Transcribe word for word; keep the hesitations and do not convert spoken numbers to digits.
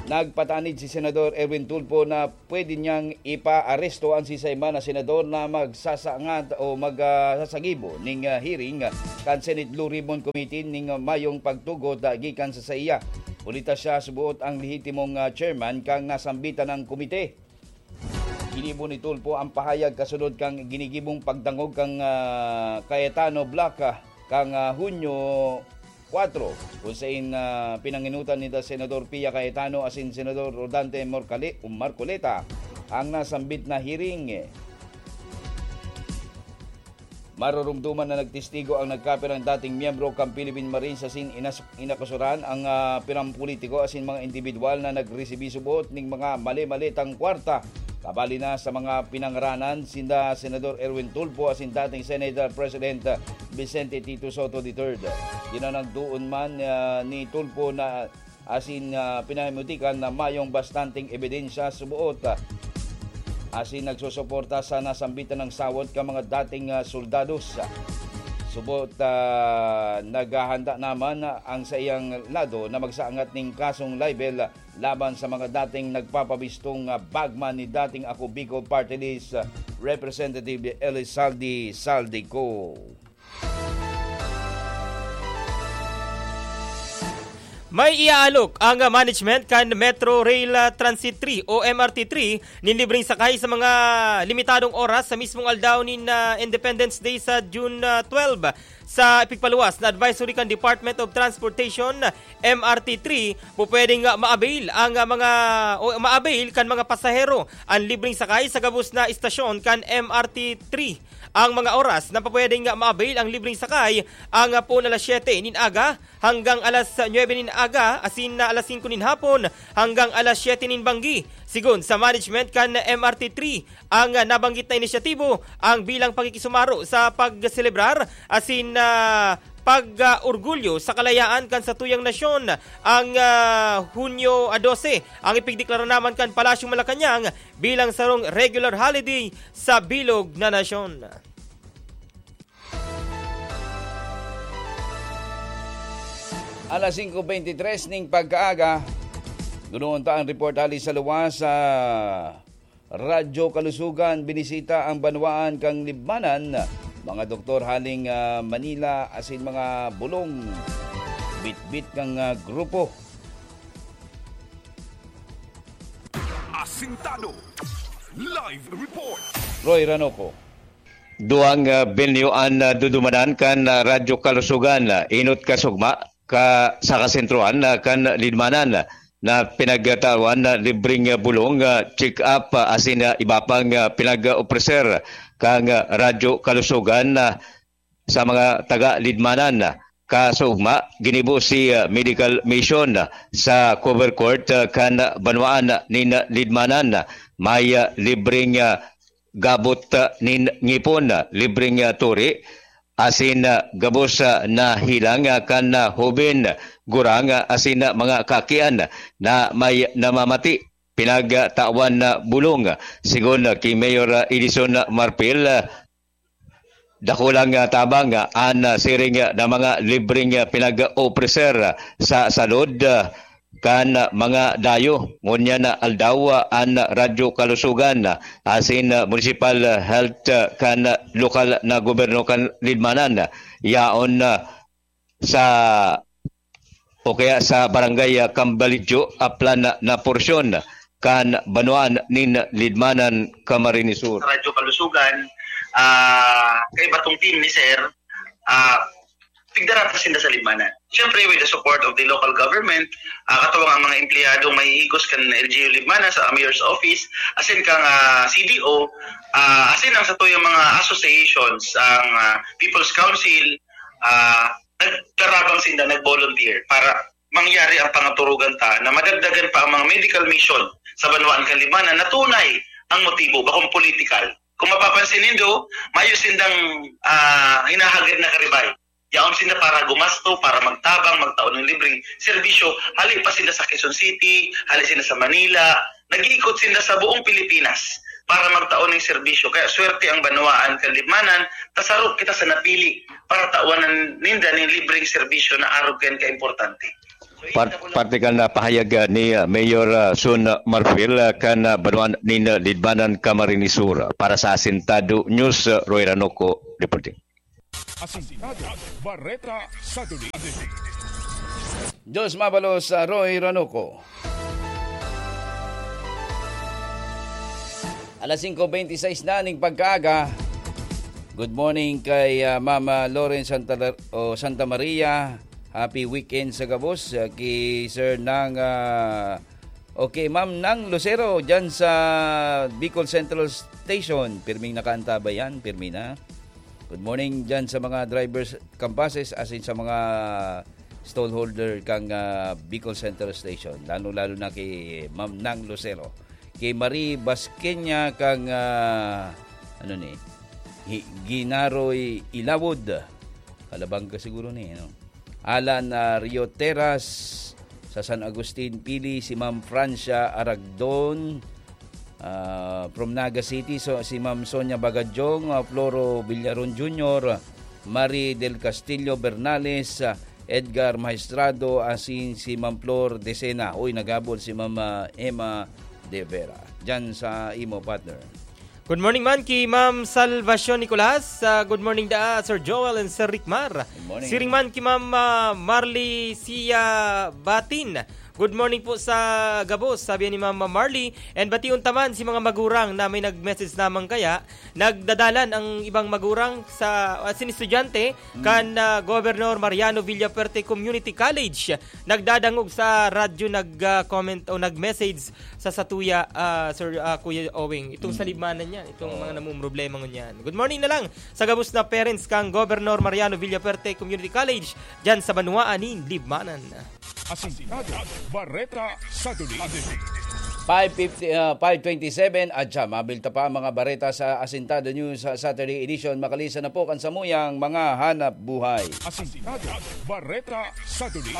Nagpatanid si Senador Erwin Tulfo na pwede niyang ipaaresto an sisay man na senador na magsasangat o mag, ah, sasagibo ning, ah, hearing kan Senate Blue Ribbon Committee ning mayong pagtugot, ah, gikan sa saiya. Huli ta siya subuot ang lehitimong, ah, chairman kan nasambitan na komite. Ginibo ni Tulfo ang pahayag kasunod kan ginigibong pagdangog kan, ah, Cayetano Bloc, ah, kan, ah, Hunyo kwatro, kun saen, ah, pinangenotan ninda Senador Pia Cayetano asin Senador Rodante Morcale-, Marcoleta ang nasambit na hearing. Maroromdoman na nagtestigo ang nagkapirang dating miyembro kan Philippine Marines asin inas-, inakusaran ang, ah, pirang politiko asin mga indibidwal na nagresibi suboot ning mga mali-mali tang kwarta. Kabali na sa mga pinangaranan sinda Senador Erwin Tulfo asin dating Senate President Vicente Tito Sotto the third. Dinanagdoon man, ah, ni Tulfo na asin, ah, pinahimutikan na mayong bastanteng ebidensya suboot, ah, asin nagsusuporta sa nasambitan na sawot kan mga dating, ah, soldados. Suboot, ah, naghahanda naman ang saiyang lado na magsaangat ning kasong libel laban sa mga dating nagpapabistong, ah, bagman ni dating Ako Bicol Party List, ah, Representative Elizalde Saldico. May iaalok ang management kan Metro Rail, ah, Transit three o M R T three nin libreng sakay sa mga limitadong oras sa mismong aldaw nin, ah, Independence Day sa June, ah, twelve. Sa ipigpaluwas na advisory kan Department of Transportation, M R T three, pupwedeng, ah, ma-avail ang, ah, mga, o ma-avail kan mga pasahero an libreng sakay sa gabos na istasyon kan M R T three. Ang mga oras na pupwedeng, ah, ma-avail ang libreng sakay, ang, ah, poon alas siyete nin aga hanggang alas nuebe nin aga, asin na alas singko nin hapon hanggang alas siyete nin banggi. Sigon sa management kan M R T three, ang, ah, nabanggit na inisyatibo ang bilang pakikisumaro sa pagselebrar asin, ah, pag, ah, orgulyo sa kalayaan kan satuyang nasyon. Ang, ah, Hunyo, ah, dose, ang ipigdeklara naman kan Palasyong Malacañang bilang sarong regular holiday sa bilog na nasyon. Alas singko beintitres ning pagkaaga, gunoon ta ang report hali sa luwas sa Radyo Kalusugan. Binisita ang banwaan kan Libmanan, mga doktor haling, ah, Manila asin mga bulong bitbit kan, ah, grupo. Asintado. Live report. Roy Ranoco. Duwang, ah, binyo an, ah, dudumanan kan, ah, Radyo Kalusugan, ah, enot ka sugma ka, sa kasentrohan, ah, kan Libmanan, ah, na pinagtawan na libreng, ah, bulong, ah, check-up, ah, asin, ah, iba pang, ah, pinag-opreser kan, ah, Radyo Kalusugan, ah, sa mga taga Libmanan. Kaso ugma, ginibo si, ah, medical mission, ah, sa cover court, ah, kan banwaan nin Libmanan. May, ah, libreng, ah, gabot, ah, nin ngipon, ah, libreng, ah, turi, asin, ah, gabos, ah, na hilang, ah, kan, ah, hoben, gurang, ah, asin, ah, mga kakian na may namamati. Pinagtawan na bulong, sigon, ah, ki Mayor, ah, Edison Marpil, ah, dakulang, ah, tabang, ah, an, ah, siring, ah, na mga libreng, ah, pinag-opreser, ah, sa salud, ah, kan, ah, mga dayo. Ngunyan na aldaw, ah, an Radyo Kalusugan, ah, asin, ah, municipal, ah, health, ah, kan, ah, lokal na gobyerno kan Libmanan, ah, yaon, ah, sa, o kaya sa barangay, ah, Cambalidjo, aplan na, na porsyon kan banwaan nin Libmanan, Camarines Sur. Radyo Kalusugan, ah, kaiba tong team ni Sir, ah, tigdara ta sinda sa Libmanan. Siyempre, with the support of the local government, ah, katuwang ang mga empleyadong mahihigos kan L G U Libmanan sa Mayor's Office, asin kang, ah, C D O, ah, asin ang satuyang mga associations, ang, ah, People's Council, ah, nagtarabang sinda, nag-volunteer para mangyari ang pangaturugan ta na madagdagan pa ang mga medical mission sa banwaan kan Libmanan na tunay ang motibo, bakong politikal. Kung mapapansin nindo, mayo sindang, ah, hinahagad na karibay. Yaon sinda para gumasto, para magtabang, magtao ng libreng serbisyo. Hali pa sinda sa Quezon City, hali sinda sa Manila. Nag-iikot sinda sa buong Pilipinas para magtao ng serbisyo. Kaya swerte ang banwaan kan Libmanan, tasaro kita sa napili para tawanan ninda ning libreng serbisyo na arog kan kaimportante. Par- parte kan, ah, pahayag, ah, ni, ah, Mayor, ah, Sun Marfil, ah, kan, ah, banwaan nin, ah, Libmanan, Camarines Sur. Para sa Asintado News, ah, Roy Ranoco reporting. Asintado, Bareta, Saturday. Diyos mabalos sa Roy Ranoco. Alas singko beintisais na ning pagkaaga. Good morning kay, ah, Mama Loren Santa, o Santa Maria. Happy weekend sa gabos, ah, kay Sir Nang, ah, okay, Ma'am Nang Lucero dyan sa Bicol Central Station. Pirming nakaantabay yan, pirmi na. Good morning dyan sa mga drivers, kampases, asin sa mga stallholder kang, ah, Bicol Central Station, lalo-lalo na kay Ma'am Nang Lucero, kay Marie Basqueña kang, ah, ano ni, Hi- Ginaroy Ilawod. Kalabang ka siguro ni, no? Alan, ah, Rio Teras, sa San Agustin, Pili, si Ma'am Francia Aragdon, ah, from Naga City, so, si Ma'am Sonia Bagajong, ah, Floro Villaron Junior, Marie del Castillo Bernales, ah, Edgar Maestrado, asin si Ma'am Flor Decena. Uy, nagabol si Ma'am, ah, Emma De Vera. Diyan sa imo, partner. Good morning man ki Ma'am Salvacion Nicolas. Ah, good morning da Sir Joel and Sir Rickmar. Good morning. Siring man ki Ma'am, ah, Marley Sia Batin. Good morning po sa gabos, sabi ni Ma'am Marley. And bation ta man si mga magurang na may nag-message naman kaya. Nagdadalan ang ibang magurang sa, asin estudyante kan, ah, Governor Mariano Villafuerte Community College. Nagdadangog sa radyo, nag-comment o nag-message sa satuya, ah, Sir, ah, Kuya Owing. Itong sa Libmanan yan, itong mga namumroblema ngunyan. Good morning na lang sa gabos na parents kang Governor Mariano Villafuerte Community College dyan sa banwaan nin Libmanan. Asintado, Bareta, Saturday. Five fifty, ah, five twenty-seven, at siya, mabilta pa ang mga bareta sa Asintado News sa Saturday Edition. Makalisan na po kan samuyang mga hanap buhay. Asintado, Bareta, Saturday.